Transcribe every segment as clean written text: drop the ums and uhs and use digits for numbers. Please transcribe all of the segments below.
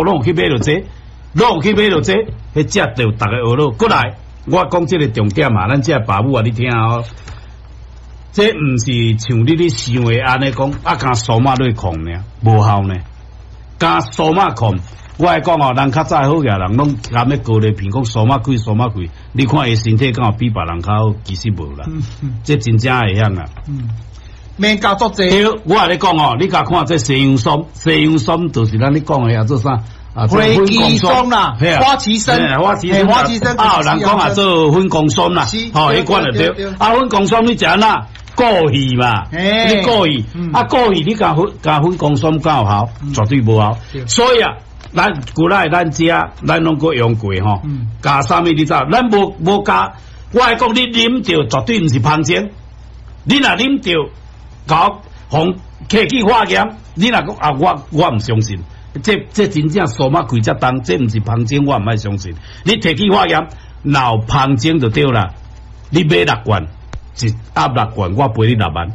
攏有去買著這，攏有去買著這，彼食著逐个學囉。過來，我講這个重點啊，咱這爸母啊，你聽哦。這毋是像你咧想的按呢講，啊，干蘇馬落控爾，無效呢。干蘇馬控，我來講哦，人較早好額人攏含咧高麗片，講蘇馬開蘇馬開，你看伊身體敢有比別人較好？其實無啦，這真正會曉啊。免教足濟。對，我共你講哦，你共看這西洋參，西洋參就是咱咧講的啊，做啥？啊，火雞參啦，花旗參，花旗參，花旗參，啊，有人講啊，做粉公參啦，吼，彼款就對。啊，粉公參你食按怎？過去嘛，你過去，啊過去，你共粉共粉公參敢有效？絕對無效。所以啊，咱古來咱遮，咱攏閣用過吼，加啥物你知？咱無無加，我來講，你啉著絕對毋是芳精，你若啉著，搞予提去化驗，你若講啊，我我毋相信，這這真正數碼開遮重，這毋是芳精，我毋愛相信。你提去化驗，若有芳精就對啦。你買六罐，一盒六罐，我賠你6萬，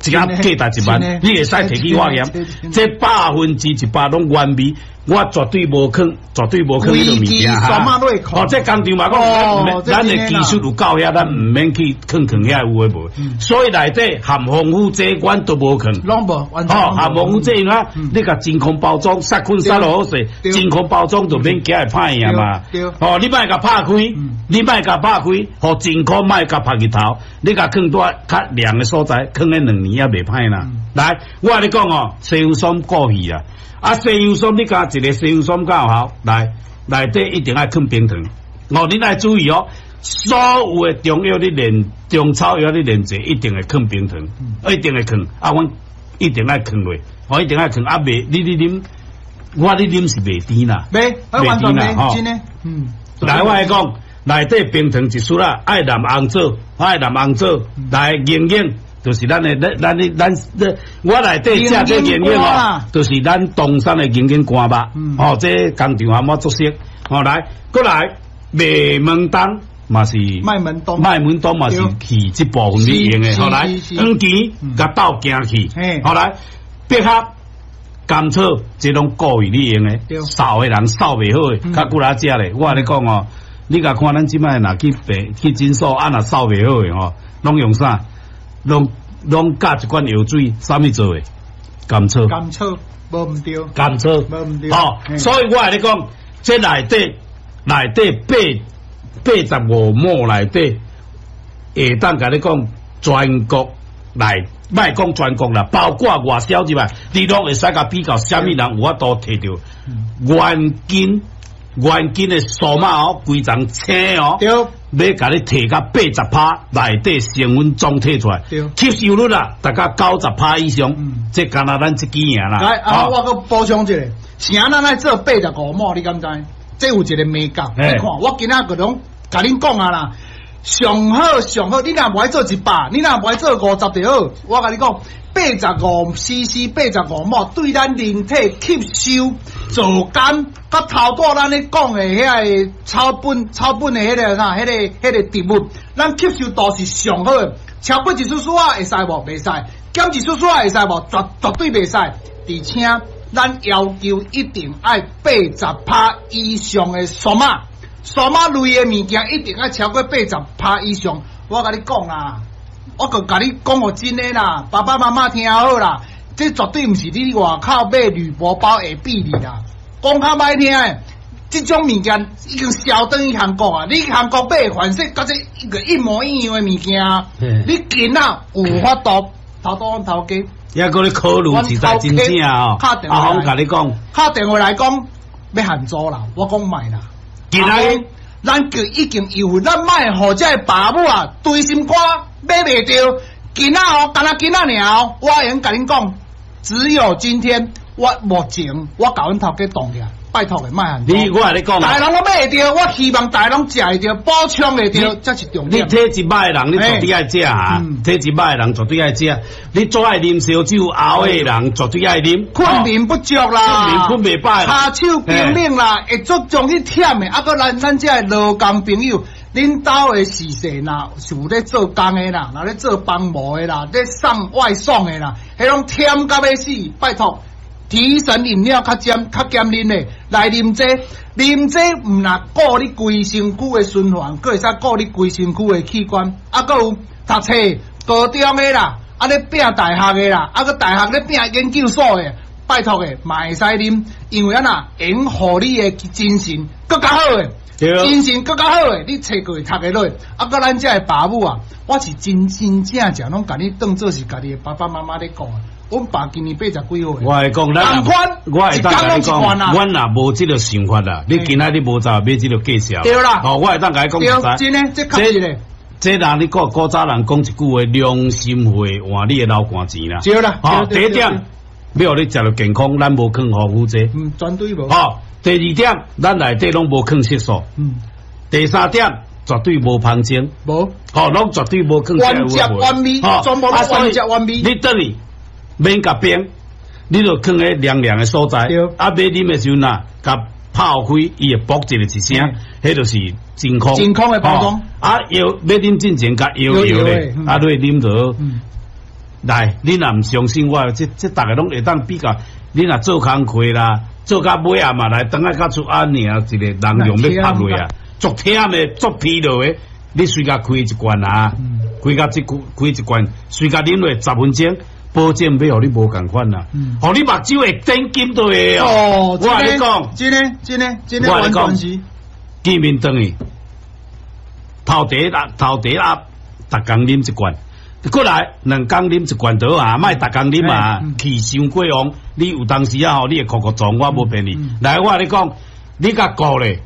一盒價值1萬，你會使提去化驗，這100%攏原味，我絕對無囥，絕對無囥彼个物件哈。哦，這工廠嘛講，咱的技術有夠遐，咱毋免去囥囥遐有的無。所以內底含防腐劑，阮都無囥。攏無，哦，含防腐劑啊，你共真空包裝，殺菌殺落好勢，真空包裝就免驚會歹去嘛。哦，你莫共拍開，你莫共拍開，予真空莫共曝日頭，你共囥佇較涼的所在，囥咧2年也袂歹啦。來，我共你講哦，西洋參過去啊。啊，西洋參你共一个西洋參敢有效？來，內底一定愛囥冰糖。哦，你愛注意哦，所有的中藥你煉中草藥你煉製，一定會囥冰糖，一定會囥。啊，阮一定愛囥落，我一定愛囥。啊，袂你你啉，我你啉是袂甜啦，袂，袂甜啦，吼。真的，嗯。來，我來講，內底冰糖一匙啦，愛淋紅棗，愛淋紅棗，來營養。就是咱的，咱咱咱咱，我內底食這營養哦，就是咱東山的營養乾肉，哦，這工廠含我足熟，哦來，閣來麥門冬嘛是，麥門冬，麥門冬嘛是去這部分咧用的，好來，黃芪共鬥行去，好來，百合、甘草，這攏故意咧用的，瘦的人瘦袂好的，較骨力食咧。我共你講哦，你共看咱這擺若去病去診所，啊若瘦袂好的吼，攏用啥？攏攏加一罐藥水，啥物做的？甘草。甘草無毋對。甘草無毋對。哦，所以我共你講，這內底內底85畝內底，會當共你講全國內，莫講全國啦，包括外銷入來，你攏會使共比較，啥物人有法度提著原斤原斤的數碼哦，規層青哦。對。欲共你提到80%，內底成分總提出來，吸收率啦，大概90%以上，這干焦咱這支爾啦。來，啊，我閣補充一下，啥咱愛做85畝，你敢知？這有一个眉角，你看，我今仔閣攏共恁講啊啦，上好上好，你若無愛做100，你若無愛做50就好。我共你講，85 CC 85畝，對咱人體吸收、做工，佮頭拄咱咧講的遐个草本、草本的彼个啥、彼个、彼个植物，咱吸收度是上好的。超過一絲絲仔會使無？袂使。減一絲絲仔會使無？絕絕對袂使。而且咱要求一定愛80%以上的數碼，數碼類的物件一定愛超過80%以上。我共你講啦，我閣共你講予真的啦，爸爸媽媽聽好啦，這絕對毋是你外口買鋁箔包會比的啦。講較歹聽的，這種物件已經銷轉去韓國啊！你韓國買的款式，佮這一個一模一樣的物件，你囡仔有法度頭拄阮頭家。抑閣咧考慮實在真正哦，阿峰共你講，敲電話來講欲限租啦，我講莫啦。今仔咱就已經有，咱莫予這个爸母啊，堆心肝買袂著。今仔哦，干焦今仔爾哦，我會用共恁講，只有今天，我目前我共阮頭家動起來，拜託的莫限租。你我共你講，逐个人攏買會著，我希望逐个攏食會著，補充會著，這是重點。你體質歹的人，你絕對愛食啊！體質歹的人絕對愛食。你做愛啉燒酒熬的人，絕對愛啉。困眠不足啦，困眠困袂飽，跤手冰冷啦，會足容易忝的。啊，閣咱咱這个勞工朋友，恁兜的時勢若是有咧做工的啦，若咧做幫模的啦，咧送外送的啦，彼攏忝甲欲死，拜託。提神飲料較減較減啉的，來啉這，啉這毋若顧你規身軀的循環，閣會使顧你規身軀的器官，啊，閣有讀冊高中的啦，啊咧拼大學的啦，啊閣大學咧拼研究所的，拜託的嘛會使啉，因為按怎會予你的精神閣較好的。精神閣較好的，你冊閣會讀會落。啊，閣咱遮的爸母啊，我是真真正正攏共你當做是家己的爸爸媽媽咧顧。阮爸今年80幾歲。我會講，咱我會當共你講，阮若無這個想法啦，你今仔日無走買這個介紹。對啦。哦，我會當共你講。對，真的，這確實的。這人你古古早人講一句話，良心會換你的流汗錢啦。對啦。哦，第一點，欲予你食著健康，咱無囥防腐劑。嗯，絕對無。哦，第二點，咱內底攏無囥色素。嗯。第三點，絕對無香精。無。哦，攏絕對無囥。原汁原味，全部攏原汁原味。你轉去免共冰，你就囥咧涼涼的所在。啊，欲啉的時陣啊，共泡開，伊會爆一個一聲，彼就是真空。真空的包裝。啊，搖欲啉進前，共搖搖咧，啊，你啉著。來，你若毋相信我，這這逐个攏會當比較。你若做工課啦，做到尾仔嘛來，轉來到厝按呢一個人用欲拍落啊，足忝的，足疲勞的，你隨共開一罐啊，開到這久開一罐，隨共啉落10分鐘，保證欲予你無仝款啦，予你目睭會點金都會哦。我共你講，真的，真的，真的，我共你講，見面轉去，頭茶啦，頭茶啊，逐工啉一罐。過來2工啉一罐就好啊，莫逐工啉啊，氣傷過旺。你有當時啊吼，你會哭哭撞，我無騙你。來，我共你講，你共顧咧，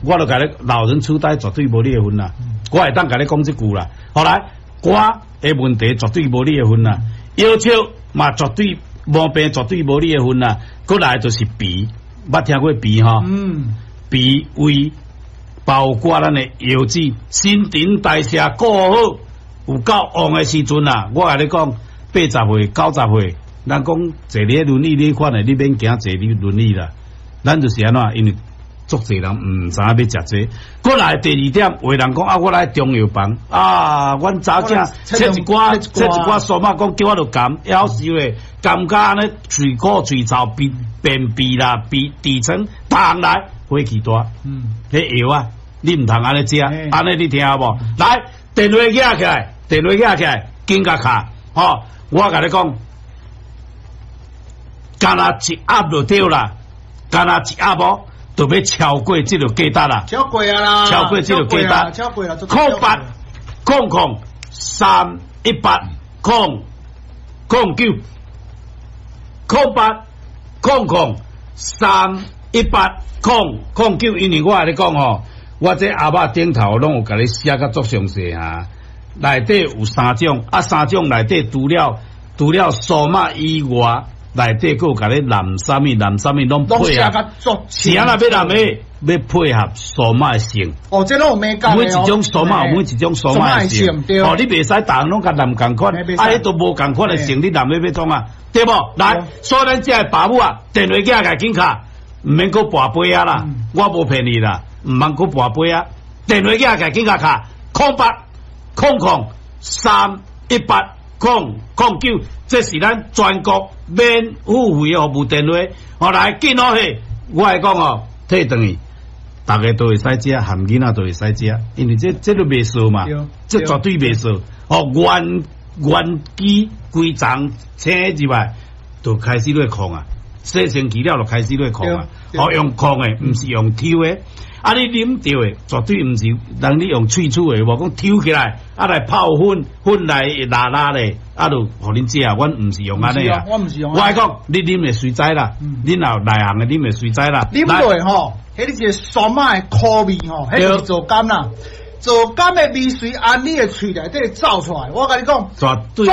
我就共你老人痴呆絕對無你的份啦。我會當共你講這句啦。後來肝的問題絕對無你的份啦，腰笑嘛絕對毛病絕對無你的份啦。過來就是脾，捌聽過脾吼？嗯，脾胃包括咱的腰子，新陳代謝顧好。有夠旺的時陣啊！我共你講，80歲、90歲，人講坐咧輪椅呢款的，你免驚坐咧輪椅啦。咱就是按怎，因為足濟人毋知影欲食這個。過來第二點，有的人講啊，我來中藥房啊，阮查某切一寡，切一寡蘇仔，講叫我著甘，夭壽咧，甘甲按呢喙苦喙臭，便便秘啦，鼻痔瘡，逐項來火氣大。嗯，彼藥啊，你毋通按呢食，按呢你聽無？來，電話拿起來。電話拿起來，緊共敲，吼！我共你講，干焦一盒就對啦，干焦一盒哦，就欲超過這個價值啦，超過啊啦，超過這個價值，超過啦， 0800031800 9，0800031800 9，因為我共你講吼，我這盒仔頂頭攏有共你寫甲足詳細啊。內底有三種，啊三種內底除了除了蘇仔以外，內底閣有共你淋啥物淋啥物攏配合。是按怎欲淋的？欲配合蘇仔的性。哦，這攏有眉角。每一種蘇仔有每一種蘇仔的性。哦，你袂使逐項攏共淋仝款，啊，彼都無仝款的性，你淋欲欲創啊？對無？來，所以咱遮的爸母啊，電話寄來緊敲，毋免閣跋杯仔啦，我無騙你啦，毋通閣跋杯仔。電話寄來緊敲，0800031800 9，這是咱全國免付費的服務電話。哦，來緊落去，我來講哦，退轉去，逐家都會使食，含囡仔都會使食，因為這這都袂臊嘛，這絕對袂臊。哦，原原機規層請入來，就開始咧控啊，洗身軀了就開始咧控啊。哦，用控的，毋是用抽的。啊！你啉著的絕對毋是人你用喙齒的，無講抽起來，啊來泡粉，粉來拉拉咧，啊就予恁食。阮毋是用按呢啊，我毋是用。我講你啉會隨知啦，恁若內行的啉會隨知啦。啉落吼，彼個是酸仔的苦味吼，彼個是皂苷啦，皂苷的味隨按你的喙內底走出來。我共你講，絕對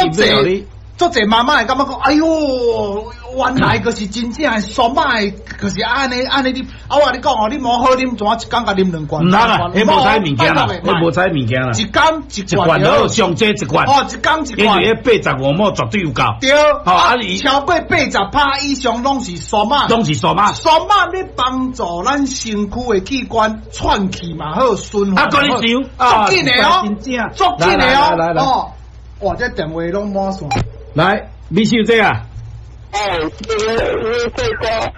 予你。足濟媽媽會感覺講，哎喲，原來閣是真正的酸仔的，就是按呢按呢啉。啊，我共你講哦，你無好啉，怎一工共啉兩罐？毋通啦，彼無彩物件啦，彼無彩物件啦。一工一罐，好，上濟一罐。哦，一工一罐。因為彼85畝絕對有夠。對，啊，超過80%以上攏是酸仔。攏是酸仔。酸仔咧幫助咱身軀的器官喘氣嘛好，循環。啊，閣你想，足緊的哦，足緊的哦。哦，哇，這電話攏滿線。來，米小姐啊，哦，你你做歌。